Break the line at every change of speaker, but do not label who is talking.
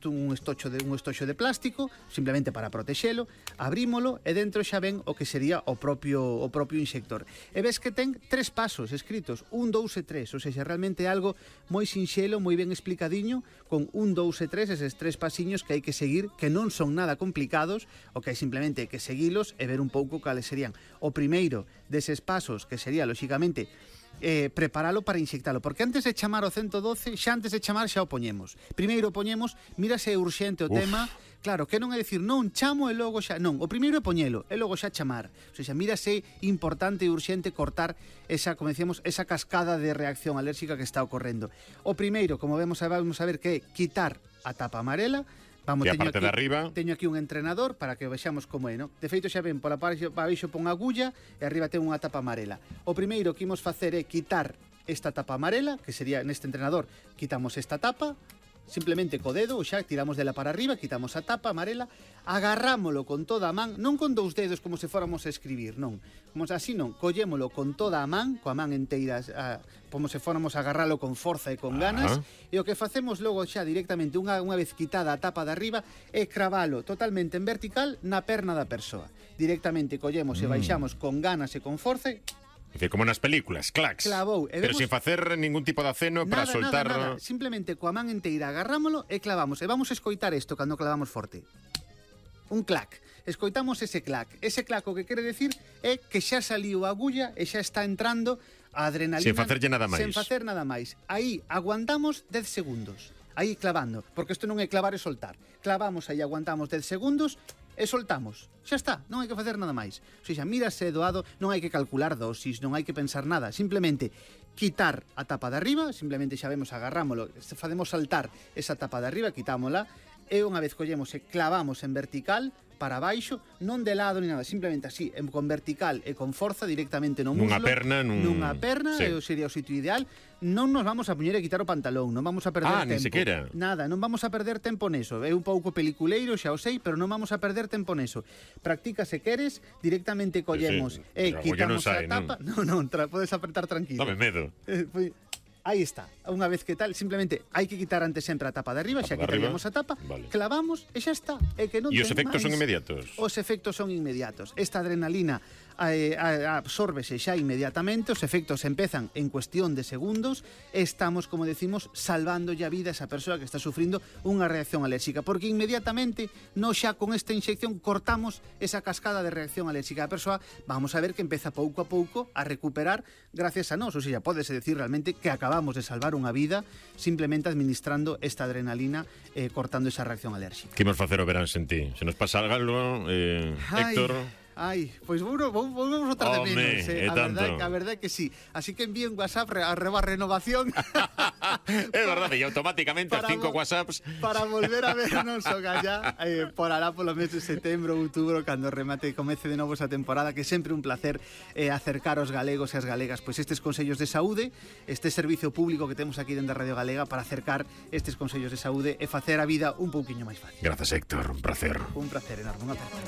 un estocho de plástico, simplemente para protexelo, abrímolo e dentro xa ven o que sería o propio inxector. E ves que ten 3 pasos escritos, 1, 2 e 3, ou seja, realmente é algo moi sinxelo, moi ben explicadiño, con 1, 2 e 3, eses 3 pasiños que hai que seguir, que non son nada complicados, o que hai simplemente que seguilos e ver un pouco cales serían. O primeiro deses pasos, que sería, lóxicamente, preparalo para inxectalo, porque antes de chamar o 112, xa antes de chamar xa o poñemos. Primeiro poñemos, mira se é urxente o tema. Claro, que non é dicir, non, chamo e logo xa, non, o primeiro é poñelo e logo xa chamar. O sea, mira se é importante e urxente cortar esa, como decíamos, esa cascada de reacción alérxica que está ocorrendo. O primeiro, como vamos a ver que é quitar a tapa amarela. Vamos,
e a parte de arriba
teño aquí un entrenador para que vexamos como é, no? De feito xa ven, pola parte baixo pon agulla e arriba ten unha tapa amarela. O primeiro que imos facer é quitar esta tapa amarela, que sería neste entrenador, quitamos esta tapa, simplemente co dedo, xa tiramos dela para arriba, quitamos a tapa amarela, agarrámolo con toda a man, non con 2 dedos como se fóramos a escribir, non. Como así non, collémolo con toda a man, coa man enteira, como se fóramos a agarralo con forza e con ganas, e o que facemos logo xa directamente, unha vez quitada a tapa de arriba, é cravalo totalmente en vertical na perna da persoa. Directamente collemos e baixamos con ganas e con forza e...
como nas películas, clacs.
Clavou.
Pero sin facer ningún tipo de aceno para soltar...
Nada. Simplemente coa man enteira agarrámolo e clavamos. E vamos a escoitar isto cando clavamos forte. Un clac. Escoitamos ese clac. Ese clac o que quere decir é que xa saliu a agulla e xa está entrando a adrenalina.
Sin facerlle nada máis.
Sen facer nada máis. Aí aguantamos 10 segundos. Aí clavando. Porque isto non é clavar e soltar. Clavamos aí, aguantamos 10 segundos e soltamos. Xa está, non hai que facer nada máis. O sea, mírase doado, non hai que calcular dosis, non hai que pensar nada, simplemente quitar a tapa de arriba, simplemente xa vemos, agarrámolo, facemos saltar esa tapa de arriba, quitámola, e unha vez collemos e clavamos en vertical para baixo, non de lado ni nada, simplemente así, con vertical e con forza directamente no muslo. Nunha perna, sí. Sería o sitio ideal. Non nos vamos a poñer a quitar o pantalón, non vamos a perder tempo.
Ni sequera.
Nada, non vamos a perder tempo neso. É un pouco peliculeiro, xa o sei, pero non vamos a perder tempo neso. Practica se queres, directamente collemos e quitamos a tapa. Non, podes apretar tranquilo.
Dame medo.
Aí está, unha vez que tal, simplemente hai que quitar antes sempre a tapa de arriba, xa quitaríamos a tapa, clavamos e xa está. E que non
os efectos son inmediatos?
Os efectos son inmediatos. Esta adrenalina absórbese xa inmediatamente, os efectos empezan en cuestión de segundos, estamos, como decimos, salvando a vida a esa persoa que está sufrindo unha reacción alérxica, porque inmediatamente, no xa con esta inyección, cortamos esa cascada de reacción alérxica. A persoa, vamos a ver que empeza pouco a pouco a recuperar gracias a nós, ou seja, pódese decir realmente que acabamos de salvar unha vida simplemente administrando esta adrenalina, cortando esa reacción alérxica.
Que imos facer o verán sen ti? Se nos pasa algo, Héctor...
Pois volvemos outra de menos, a verdade que sí. Así que envíen WhatsApp a renovación.
É verdade, e automáticamente as 5 WhatsApps
para volver a vernos o gallá por alá polo mes de setembro, outubro, cando remate e comece de novo esa temporada, que é sempre un placer acercar aos galegos e as galegas pois estes consellos de saúde, este servicio público que temos aquí dentro da Radio Galega para acercar estes consellos de saúde e facer a vida un pouquiño máis fácil.
Grazas, Héctor, un placer.
Un placer enorme, unha aperta.